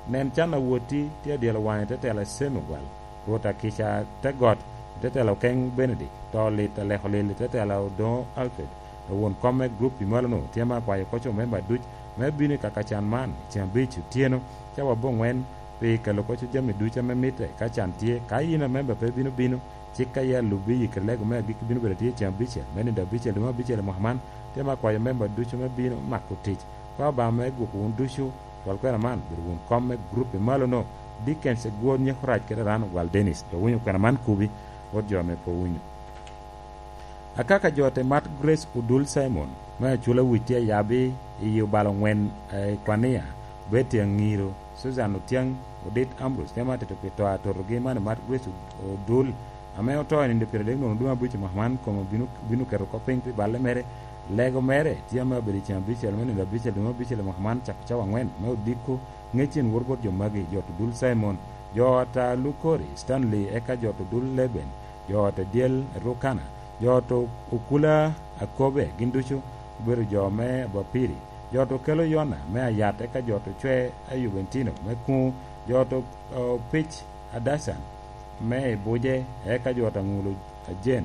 nen can awotti tye adyel waŋ, i te telo Semi Ogwal, Rwot Akica te got, i te telo Keny Benedict, to lit aleko lil, i te telo Odoŋo Alfred, won kom me gurup i malo-nu, tye me akwayo oko co memba duc me bino i kaka can man, i ceng abic otyeno, cawa aboŋwen, pi kelo oko co jami ducu ame mitte, ka can tye, ka in amemba pe bino bino, cik ka ye alubbi i kede lego me agikki bino bedo tye i ceng abicel, me nino abicel, dwe me abicel i mwaka man, tye me akwayo memba ducu me bino mako tic. Ka Obaŋa me gwoko wun ducu, cwal kwena man, bedo wun kom me gurup i malo-nu, Dickens Egwor Nyekorac kede Rano Gwal Dennis, dok winyo kwena man kubi, bot jo ame pe owinyo. Akaka jo te mat Grace Odul Simon, me Acula Wic tye ayabi i yi obalo ŋwen, eh, i Kwania, Betty Aŋiro, Susan Otyang, Odit Ambrose, tye ma atito pi to atotogi man i mat Grace Odul, ame oto i nino pyeradek nwoŋo dwe abic i mwaka man, kome obino, bino keto kop piny pi balle mere. Lego mere tye ame obedo i ceng abicel me nino abicel dwe me abicel i mwaka man, cako cawa aŋwen me odiko, ŋec in wor bot jo magi, jo Odul Simon, jo ata Lukori, Stanley, eka jo Odul Leben, jo ot Adyel Rukana, jo ot Okula Akobe, gin ducu obedo jo me Abapiri, jo ot Okelo Yona me Ayat, eka jo ot Ocwe Ayubentino me Kuŋo, jo ot Opic Adacan me Ibuje, eka jo ot Aŋulo Ajen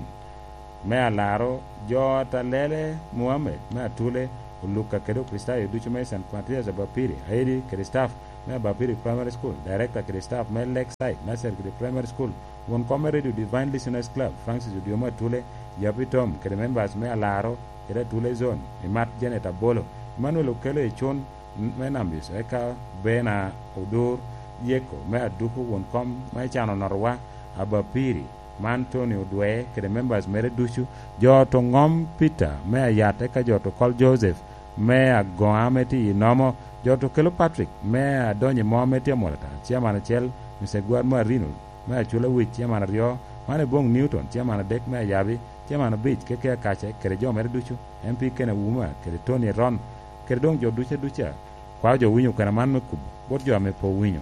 me Alaro, jo ot Alele Muhammed me Atule, Oluka kede Okricitayo ducu me Saint Matthias Abapiri, Aidi kede staff me Abapiri Primary School, Director kede staff me Lakeside Nursery kede Primary School, Won kom me Radio Divine Listeners Club, Francis Odiomo Atule, Yapi Tom, kede members me Alaro, kede Atule Zone, i Mat Janet Abolo, Emmanuel Okelo i Cun, me Nambis, eka Bena Odur, Yeko, me Aduku, won kom me Cano Notowa, Abapiri, man Tony Odwe, kede members mere ducu, jo to ŋom Peter, me Ayat, eka jo to Kol Joseph, me Agoŋa, me tye i Nomo, jo to Kelo Patrick, me Adonyo i Mo, me tye Amolata, Chairman acel, Mister Gwar Marino, me Acula Wic, Chairman aryo, man Ebong Newton, Chairman adek, me Ayabi, Chairman abic, Keke Akace, kede jo mere ducu, M P Ken Auma, kede Tony Eron, kede doŋ jo duca duca, kwao jo winyo kwena man me kubo, bot jo ame pe owinyo.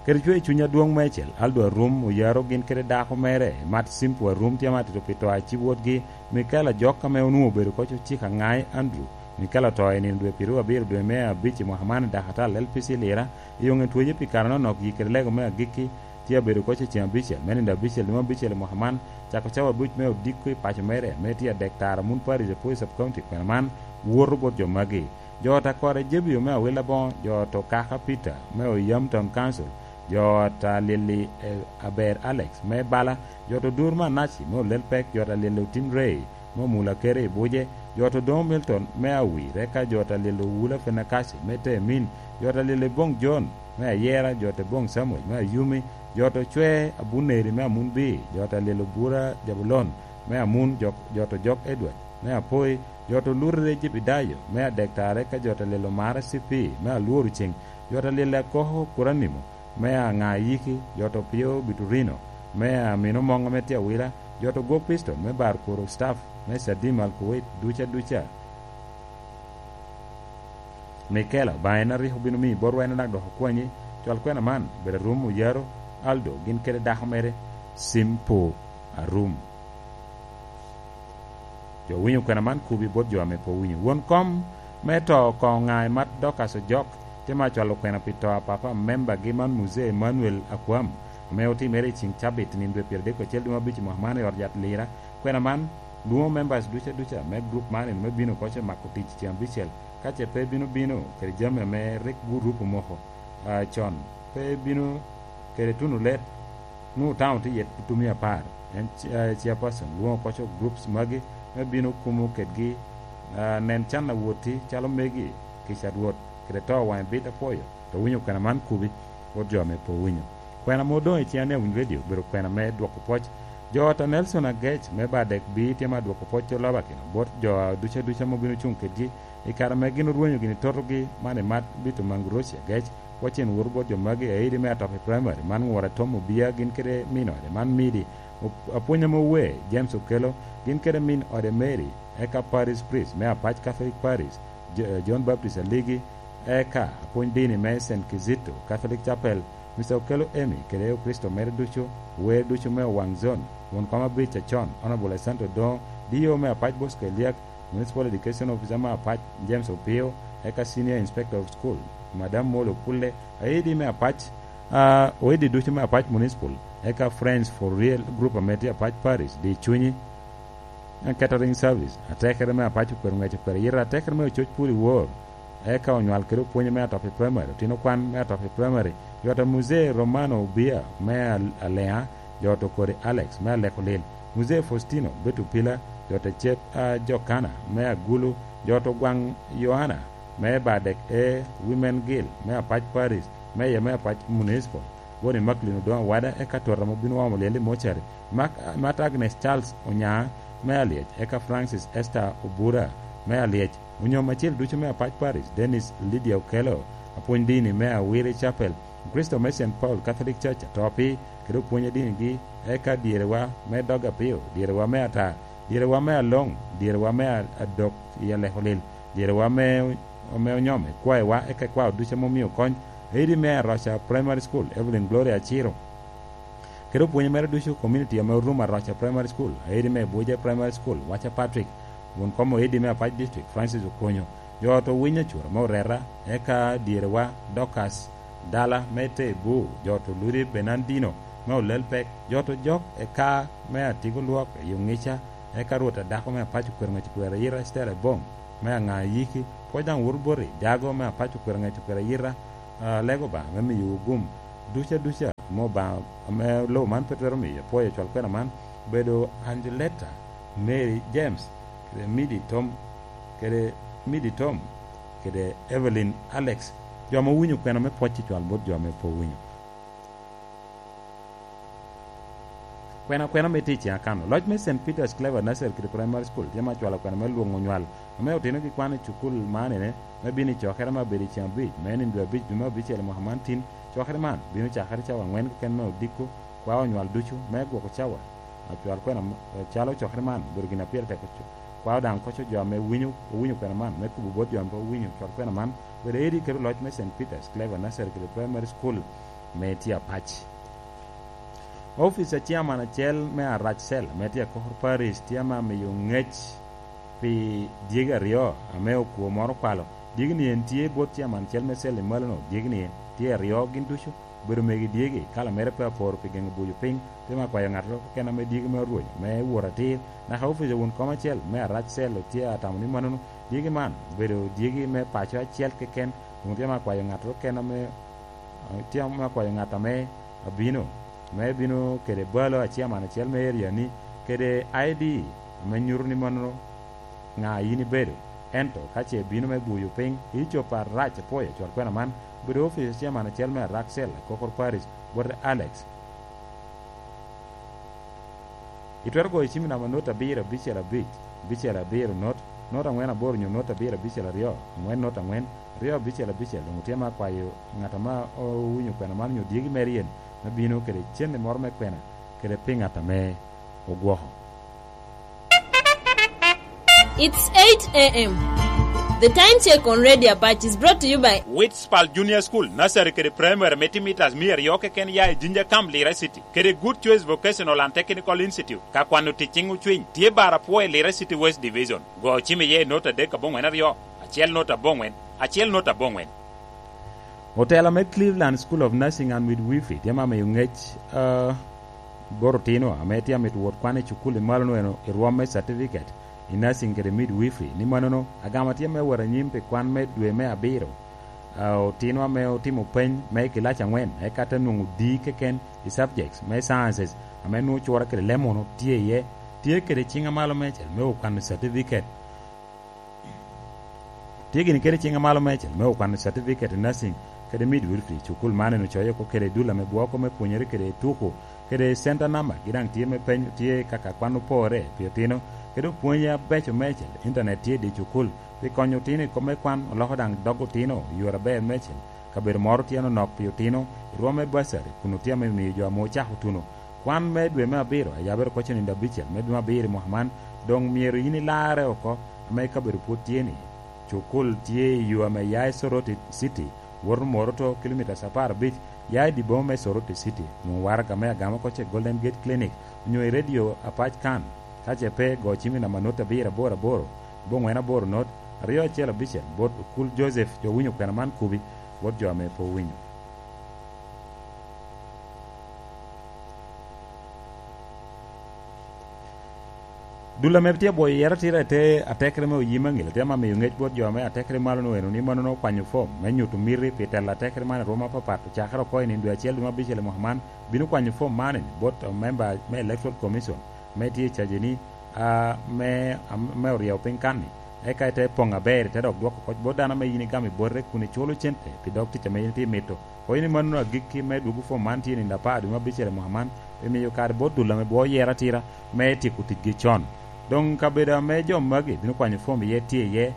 Kede cwer i cuny adwoŋ meicel, Aldo Arum, Oyaro gin kede dako mere, Mat Simpo Arum, tye ma atito pi to a ci wotgi, Mikel Ajok ame onwoŋo obedo koc ocik aŋai Andrew, Mikel oto i nino dwe pyeraryo abiro dwe me abic i mwaka man i Dakatal L P C Lira, i oŋe twece pi kare anonok yi kede lego me agikki, tye abedo koc i ceŋ abicel, me nino abicel, dwe me abicel i mwaka man, cako cawa abic me odiko i paco mere, me tye adek tara mun Paris Apuoyo Sub County, kwena man, woto bot jo magi. Jo ta kore Jebio me Awila Boŋo, jo to Kaka Peter me Oyam Town Council, jo ta Lili, eh, Aber Alex me Bala, jo to Dur Manaci me Olel Pek, jo ta Lili Otin Ray me Omula Kere i Buje, jo to Doŋo Milton me Awir, eka jo ta Lili Owula Fenakaci me Temin, jo ta Lili Boŋ John me Ayera, jo ta Boŋ Samuel me Ayumi, jo to Cwe Abuneri me Amunbi, jo ta Lili Obura Jabulon me Amun, jo, jo to Jok Edward me Apoi, jo to Lurre Jebidayo me Adek Tare, ka jo ta Lili Omara C P me Alworo Ceŋ, jo ta Lili Akoko Kuranimo me Aŋa Yiki, jo to Pio Biturino me Amino Moŋo me tye Awila, jo to Gwok Piston me Bar Kuro Staff me Sadim Alkuwait duca duca. Mikela, Obaŋa en a rik obino miyi botwa en onak dok okwanyi, cwal kwena man, bedo Arum Oyaro, Aldo, gin kede dako mere, Simpo Arum. Jo winyo kwena man kubi bot jo ame pe owinyo. Won kom me to koŋ ŋa i mat Dorcas Ojok, tye ma cwalo kwena pi to a papa membagi man Muzee Emmanuel Akwam, ame otimere i ceŋ cabit nino dwe pyeradek acel dwe me abic i mwaka man i ot yat Lira. Kwena man lwoŋo members duca duca me group man me bino koc mako tic ceŋ abicel, ka ce pe bino bino kede jami ame rik gurup omoko, ah, con, pe bino kede tuno let, nwoŋo taŋo tye yet tutumia apar. En ci-, eh, chairperson lwoŋo koco groups magi me bino kumo kedgi, ah, nen can a woti calo megi, kica Rwot, kede to waŋe bit apwoyo, to winyo kwena man kubi, bot jo ame pe owinyo. Kwena ame odoŋ i ciŋ ame awinyo redio obedo kwena me dwoko pwoc. Jo ot a Nelson Agec me Badek Bii tye ma dwoko pwoc oloba kino bot jo a duca duca ame obino cuŋ kedgi i kare ame gin orwenyo gini totogi man i mat Bito Manguroci Agec, Wacen woto bot jo magi, aidi me Atopi Primary, man Ŋura Tom Obia, gin kede min ode, man Midi, op-, apwony ame owe, James Okelo, gin kede min ode Mary, eka Parish Priest me Apac Catholic Parish, J-, John Baptist Aligi, eka apwony dini me Saint Kizito Catholic Chapel, Mister Okelo Emmy, kede Okricito mere ducu, wer ducu me Owaŋ Zone, won kom abic acon, Honorable Santo Doŋo, D O me Apac Bosco Eliak, Municipal Education Officer me Apac James Opio, eka Senior Inspector of School, Madam Molo Kulle, aidi me Apac, ah, oidi ducu me Apac Municipal, eka Friends for Real Group ame tye Apac Parish, di cunyi, eh, catering service, atekere me Apac okwero ŋec okwero yita, atekere me Ococ Puli Wor, eka onywal kede opwonye me Atopi Primary, otino kwan me Atopi Primary, Yota Muzee Romano Obia me Al-, Aleŋa, Jot Okori Alex me Aleko Lil, Muzee Faustino Betupila, Jot Acep, ah, Jokana me Agulu, Jot Ogwaŋ Yohana me Badek A Women Guild me Apac Parish, Meya me Apac Municipal, Woni Maklin Odoŋo Wada, eka Tota ame obino omo lyel i Mochari, Mak-, Mat Agnes Charles Onya me Alyec, eka Francis Esther Obura me Alyec, Onyom acel ducu me Apac Parish, Dennis Lydia Okello, apwony dini me Awiri Chapel, Kricito me Saint Paul Catholic Church Atopi, kede opwony adinigi, eka dyerewa me dog apio, dyerewa me ata, dyerewa me aloŋ, dyerewa me a-, adok i Alekolil, dyerewa me, me onyome, kwaewa, eka ikwao ducu ame omio kony, aidi me Aroca Primary School, Evelyn Gloria Aciro, kede opwonye mere ducu, community ame orumo Aroca Primary School, aidi me Abuja Primary School, Wacha Patrick, won kom oidi me Apac District, Francis Okonyo, jo ot Owiny Acura me Oreta, eka dyerewa Dorcas Dala me Tebu, jo ot Oludi Bernardino me Olelpek, jo ot Ojok eka me Atigo Lwok i Ongica, eka Rwot a dako me Apac Okwero Ŋec Okwero Ayira Esther Ebong me Aŋa Ayiki, pwod daŋ woto boti Jago me Apac Okwero Ŋec Okwero Ayira, ah, Lego Obaŋa me miyowu gum. duca duca ame Obaŋa, ame lobo man pe twero miyo, apwoyo cwal kwena man, obedo Angeletta, Mary James, kede Midi Tom, kede Midi Tom, kede Evelyn Alex, jo ame owinyo kwena me pwoc i cwal bot jo ame pe owinyo. Kwena kwena me tic i Akano. Loc me Saint Peter's Clever Nursery kede Primary School tye ma cwalo kwena me lwoŋo nywal ame otino ki kwan i cukul man ene, me bino i cokere me abedo i ceŋ abic, me nino dwe abic dwe me abicel i mwaka man tin. Cokere man bino cakere cawa aŋwen keken me odiko, kwao nywal ducu me gwoko cawa. Acwal kwena m-, calo cokere man obedo gin a pire tek oco. Kwao daŋ koco jo ame winyo, owinyo kwena man, me kubo bot jo ame pe owinyo cwal kwena man, obedo edi kede loc me Saint Peter's Clever Nursery kede Primary School me tye apac. Opic a ciaman acel me Arac Cell ame tye i Akokor Parish tye ame amiyo ŋec pi dyegi aryo ame okwo moro okwalo. Dyegi-ni en tye bot ciaman acel me cell i malono. Dyegi-ni tye aryo gin ducu, obedo megi dyegi, kala mere pe aporo pi geŋo buco piny. Tye me akwayo ŋat keken ame dyegi me orwenyo me wot atir. Naka opic a won kom acel me Arac Cell tye atamo ni mannono. Dyegi man obedo dyegi me paco acel keken. Doŋ tye me akwayo ŋat keken ame, tye me akwayo ŋat ame abino, me bino kede balo a ciaman acel me area-ni, kede I D ame nyuto ni mano ŋa yin ibedo. Ento ka ce bino me buyo piny, i copo arac apwoyo cwal kwena man, obedo opic a ciaman acel me Arac Cell, Akokor Parish, bote Alex. Itwero goyo cim i namba not abiro abicel abic, abicel abiro not, not aŋwen aboro nyo not abiro abicel aryo, aŋwen not aŋwen, aryo abicel abicel. Doŋ otye me akwayo ŋat ame owinyo kwena man nyo dyegi mere yen me bino kede cente moro me kwena kede pi ŋat ame ogwoko. It's eight a m. The time check on Radio Apache is brought to you by Witspal Junior School, Nursery kede Primary me timitas mia aryo keken ya i Jinja Camp, Lira City, kede Good Choice Vocational and Technical Institute. Ka kwano tic ciŋ ocwiny, tye bar apwo i Lira City West Division. Go cim iye i not adek aboŋwen aryo, acel not aboŋwen, acel not aboŋwen. Otela me Cleveland School of Nursing and Midwifery tye ma miyo ŋec, ah, bot otino ame tye amito wot kwan i cukul i malo nweno i rwom me certificate i nursing kede midwifery. Ni mannono, agama tye me wot anyim pi kwan me dwe me abiro. Ah, otino ame otimo peny me i kilac aŋwen, eka te nwoŋo D keken i subjects me sciences ame nwoŋo cura kede lemono tye iye, tye kede ciŋ amalo meicel me okwano certificate. Tye gini kede ciŋ amalo meicel me okwano certificate i nursing kede midwifery. Cukul man en ocoyo oko kede dul ame bwoko me pwonyere kede tuko kede center number, gi daŋ tye me peny, tye kaka kwan opore pi otino, kede opwonye abeco meicel. Internet tye i dye cukul pi konyo otino i kop me kwan, oloko daŋ dog otino i yore aber meicel. Kabedo moro tye anonok pi otino i rwom me bursary, kun otye ame miyo jo ame ocako tuno kwan me dwe me abiro a yabere oko cenindo abicel me dwe me abiro i mwaka man. Doŋ myero yin ilarre oko ame kabedo pwod tye ni. Cukul tye i yo ame ya i Soroti City, woto Moroto, kilomitas apar abic, ya i dye boma me Soroti City, nwoŋo waraga me agama oko ce Golden Gate Clinic, onyo i Radio Apac kan. Ka ce pe, go cim i namba not abiro aboro aboro, aboŋwen aboro not, aryo acel abicel, bot Okul Joseph, jo winyo kwena man kubi, bot jo ame pe owinyo. Dul ame tye abwoyo yero atira i te atekere me oyim aŋil, tye ame amiyo ŋec bot jo ame atekere malo-nu eno ni mannono okwanyo fom me nyuto miti pi telo atekere man i rwom apapat, ocakere oko i nino dwe acel dwe me abicel i mwaka man, bino kwanyo fom man ni bot memba me Electoral Commission ame tye i caje ni, a, me, am-, me oryewo piny kan-ni, eka ite poŋ aber, ite dok dwoko kop bot dano ame yin igamo i bote kun iculo cente pi dog tic ame yin itye mito. Kono ni mannono agikki me dwogo fom man tye i nino apar dwe me abicel i mwaka man, pi miyo kare bot dul ame bwo yero atira me tyeko ticgi con. Doŋ kabedo ame jo magi bino kwanyo fom iye tye iye,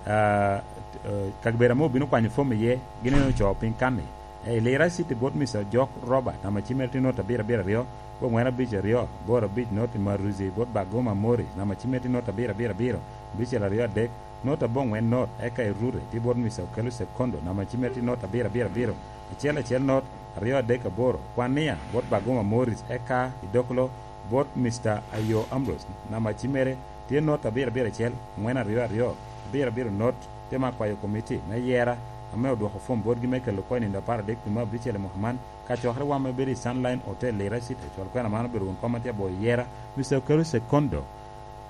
a, e, kabedo ame obino kwanyo fom iye, gin en ocoo piny kan-ni. E, i Lira City bot Mister Ojok Robert, namba cim mere tye not abiro abiro aryo, aboŋwen abic aryo, aboro abic not i Maruzi bot Bagoma Morris, namba cim mere tye not abiro abiro abiro, abicel aryo adek, not aboŋwen not, eka i Rure tye bot Mister Okelo Sekondo, namba cim mere tye not abiro abiro abiro, acel acel not, aryo adek aboro, Kwania bot Bagoma Morris, eka i Dokolo bot Mister Ayo Ambrose, namba cim mere tye not abiro abiro acel, aŋwen aryo aryo, abiro abiro not, tye me akwayo komiti me yera ame odwoko fom botgi me kelo oko i nino apar adek dwe me abicel i mwaka man, ka cokere wam me bedo i Sunline Hotel Lira City, cwal kwena man obedo won kom atye aboyo yera, Mister Okelo Sekondo,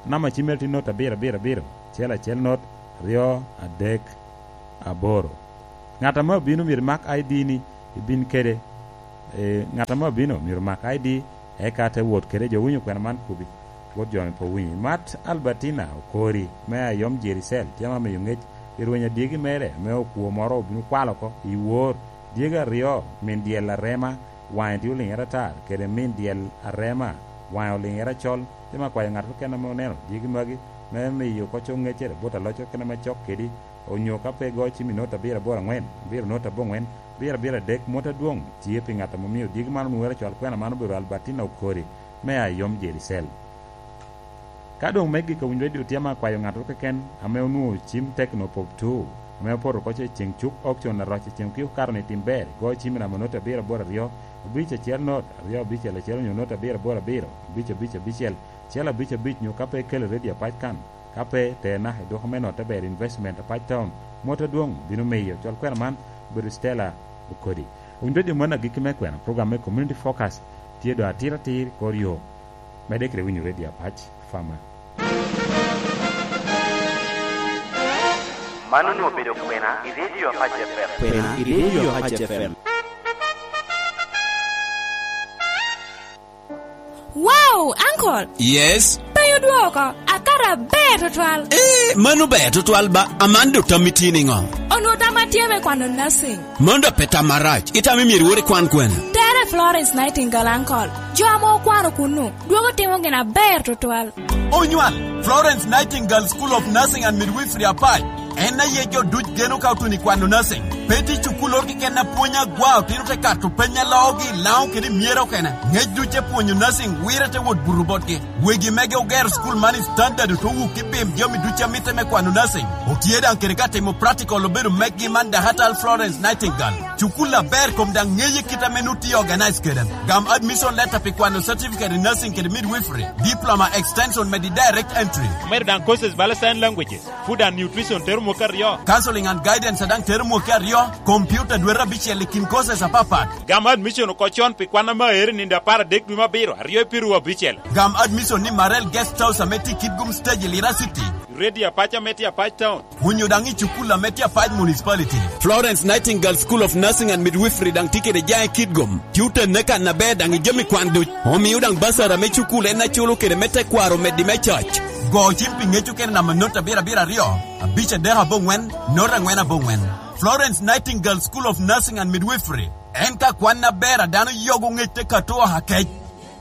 namba cim mere tye not abiro abiro abiro, acel acel not, aryo adek aboro. Ŋat ame obino myero imak I D ni ibin kede, E, ŋat ame obino myero omak I D, eka te wot kede jo winyo kwena man kubi. Wot jo ame pe owinyo. Imat Albertina Okori, me Ayom Jericel, tye ame omiyo ŋec i rweny adyegi mere, ame okwo moro obino kwalo oko i wor. Dyegi aryo, min dyel Arema, waŋe tye oliŋere atar, kede min dyel Arema, waŋe oliŋere acol. Tye ame akwayo ŋat keken ame oneno dyegi magi, me miyo kocco ŋeccere bot aloc keken ame cok kedi, onyo ka pe igo cim i nota abiro aboro aŋwen, abiro nota aboŋwen, abiro abiro adek, mot adwoŋ tye pi ŋat ame omio dyegi man onwoŋere cwal kwena man obedo Albertina Okori, me Ayom Jericel. Ka doŋ megi ka winyo redio tye ame akwayo ŋattoro keken ame onwoŋo cim Tecno Pop two, ame opoto oko ce i ceŋ cuk auction Aroc i ceŋ okiko kato ni tim ber, igo cim i namba noti abiro aboro aryo, abic acel not, aryo abicel acel onyo noti abiro aboro abiro, abic abic abicel, acel abic abic, nyo ka pe ikelo redio apac kan, ka pe, te naka i duko me noti aber Investment apac town, mot adwoŋ bino miyo cwal kwena man bedo Stella Okodi. Winyo redio man agikki me kwena, program me Community Focus tye doŋ atir atir i kor yo. Medde kede winyo redio apac, Fama. Man onwoŋo obedo kwena i redio Apac F M. Kwena i redio Apac F M. Wow, uncle! Yes? Pe odwoko, akato aber tutwal. Eh, mano ber tutwal ba, aman dok tam itye niŋo? Onwoŋo tam atye me kwano nursing. Mano dok pe tam marac, itamo myero iwor ikwan kwene? Tere Florence Nightingale, uncle. Jo ame okwano kunnu, dwogo timo gin aber tutwal. Onywal, Florence Nightingale School of Nursing and Midwifery Apac. En aye jo duc geno ka otuno i kwano nursing. Pe tye cukul oro keken a pwony agwa otino te kato peny a loogi i Laŋo kede i Myero okene. Ŋec duc te pwonyo nursing wire te wot buto botgi. Wegi mege ogero cukul man i standard oto wuk i bim jami duc a mitte me kwano nursing. Otye daŋ kede ka timo practical obedo meggi man Dakatal Florence Nightingale. Cukul aber kom daŋ ŋeye kit ame nut tye organize kede. Gam admission letter pi kwano certificate in nursing kede midwifery, diploma extension medi direct entry. Omedo daŋ courses bala sign languages, food and nutrition tero mwaka aryo. Counseling and guidance a daŋ tero mwaka aryo, computer dwete abicel i kin courses apapat. Gam admission oko con pi kwan ame aero i nino apar adek dwe me abiro, aryo i piru abicel. Gam admission ni Marel Guest House ame tye i Kitgum Stage i Lira City. Ready apac ame tye Apac Town. Onyo daŋ i cukul ame tye Apac Municipality. Florence Nightingale School of Nursing and Midwifery daŋ tye kede jaŋ i Kitgum. Tye otenne kan aber daŋ i jami kwan duc. Omio daŋ basara me cukul en aculo kede me tekwaro omeddi me coc. Go cim pi ŋec okene namba not abiro abiro aryo, abic adek aboŋwen, not aŋwen aboŋwen. Florence Nightingale School of Nursing and Midwifery. En ka kwan aber a dano yogo ŋec te kato oha kec.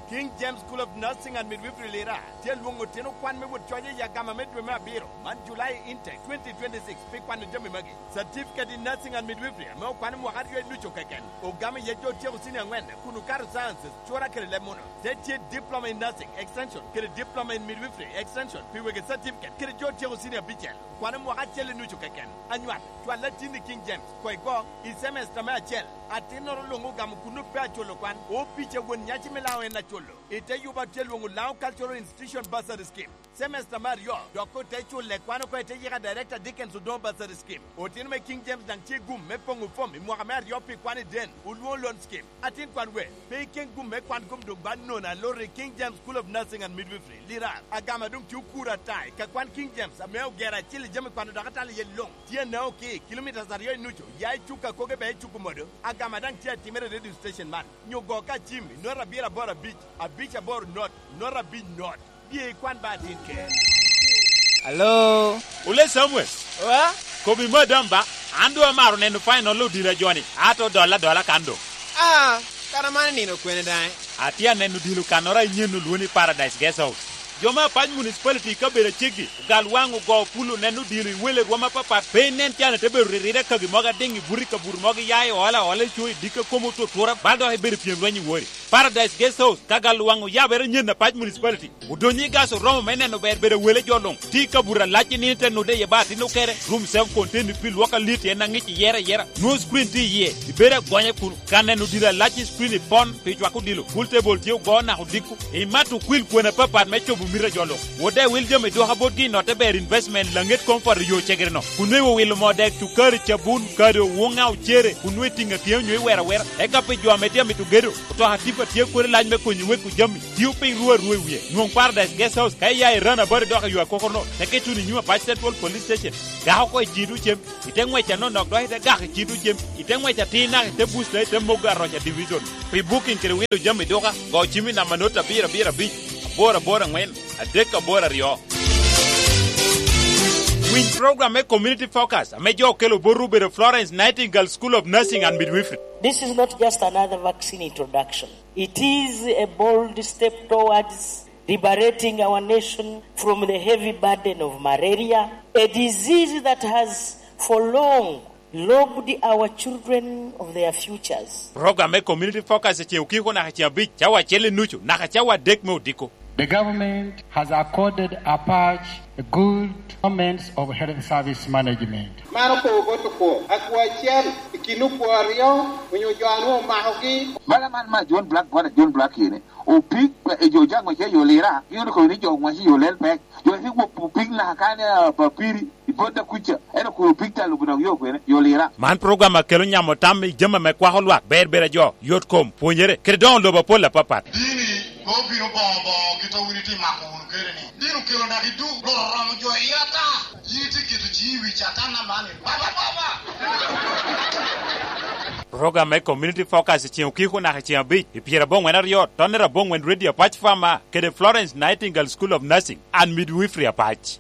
King James School of Nursing and Midwifery Lira tye alwoŋo otino kwan me wot coc i agama me dwe me abiro, man July intake twenty twenty-six, pi kwano jami magi. Certificate in Nursing and Midwifery ame okwano mwaka aryo i nucu keken, ogamo iye jo otyeko senior aŋwen kun okato sciences, cura kede leb muno. Te tye Diploma in Nursing Extension kede Diploma in Midwifery Extension pi wegi certificate kede jo otyeko senior abicel, okwano mwaka acel i nucu keken. Anywat, cwal atin i King James, koi go, i semester me acel. Atinnoro luŋ ogamo kun ope aculo kwan, opic a won nyaci me Laŋo en aculo. I te yuba tye lwoŋo Laŋo Cultural Institution Bursary Scheme. Semester me aryo, dok ote culle kwan oko i te yika Director Dickens Odongo Bursary Scheme. Otino me King James daŋ tye gum me poŋo fom i mwaka me aryo pi kwan i den, olwoŋo loan scheme. Atin kwan we, pe iken gum me kwan kom doŋ ba nono aloro i King James School of Nursing and Midwifery, Lirar. Agama doŋ tye okuro ata i ka kwan King James ame ogero acil i jami kwano dok atalo iye luŋ. Tye anao ki kilomitas aryo i nucu, ya i cuk akoge bea i cuk omodo. Agama daŋ tye atimere i radio station man. Nyo go ka cim i not abiro aboro abic, abic aboro not, not abic not. Bye ikwan ba atin ker. Alo? Ole Samuel. Wa? Kobi madam ba, an doŋ amaro neno final odila joni, ato dola dola kan doŋ. Ah, kara man nino kwene daŋ? Atye aneno odilo kannoro a inyen olwo ni Paradise Guest House. Jo me Apac Municipality i kabedo aceggi, ogal waŋ ogo pul oneno odilo i wele rwom apapat, pe inen can ite bedo ririre kagi mogo adiŋ i buti kabuto mogo iya i ola ola i co i dikka komo otutura, bal dok ibedo pyem lweny i wori. Paradise Guest House, ka gal waŋ oyabere nyen Apac Municipality. Odonyo i gas oromo me neno ber bedo wele jo luŋ. Tye i kabuto alac i nino te nude iye ba atin okere. Room self contained pi lwok alit en aŋic iyere ayera. Nwoŋo screen tye iye. Ibedo agonya kun. Ka neno dilo alac i screen i pon pi cwako dilo. Pool table tye ogo naka odiko. Imato kwil kwena apapat me cobo Mito jo luŋ wot daŋ iwil jami dwoka botgi i notte ber investment laŋet Comfort i yo cegere-no, kun nwoŋo iwilo moo dek, cukari, cabun, kado, wuŋa, ocere, kun nwoŋo itiŋ atyem nyo iwero awera. Eka pi jo ame tye amito gedo, otoka tipa tye kodi lac me konyo wek jami tio piny ruu arua i wie. Nwoŋ Paradise Guest House ka iya i Rana Bari dok i yo akokoro-no, teke ituno i nyim Apac Central Police Station. Gak oko i cito cem, i te ŋwec anonok dok i te gak i cito cem, i te ŋwec atir naka i te busta i te mogo aroca division. Pi booking kede wilo jami duka, go cim i namba not abiro abiro abic, aboro aboro aŋwen, adek aboro aryo. Winy program me Community Focus ame jo okelo botwu obedo Florence Nightingale School of Nursing and Midwifery. This is not just another vaccine introduction. It is a bold step towards liberating our nation from the heavy burden of malaria, a disease that has for long robbed our children of their futures. Program me Community Focus i ceŋ okiko naka ceŋ abic, cawa acel i nucu naka cawa adek me odiko. The government has accorded Apac a good performance of health service management. Man okobo bot okwo, akwo acel i kin okwo aryo onyo jo a nwoŋo omakogi. Bala man ma John Black, bwana John Black kene, opik, e, jo jaŋ wace yo lira, gin okobo ni jo wace yo lel pek. Jo wace wo opik naka kane, a, ba piri, i bot da kuca, en okobo opik ta lubo dok yo kwene, yo lira. Man program a kelo nyamo tam i jami ame kwako lwak, ber ber a jo, yot kom, pwonyere, kede doŋo lobo apol apapat. Dini pe obino boŋo boŋo kit a wun itimo mako wunu kede ni. Dini okelo naka i duk, loro romo jo i ata. Yin itye keto ciŋi i wi Catan aman, baba, baba! Program me Community Focus i ceŋ okiko naka i ceŋ abic, i pyerabongwen aryo, tonnere abongwen Radio Apac Farmer, kede Florence Nightingale School of Nursing and Midwifery Apac.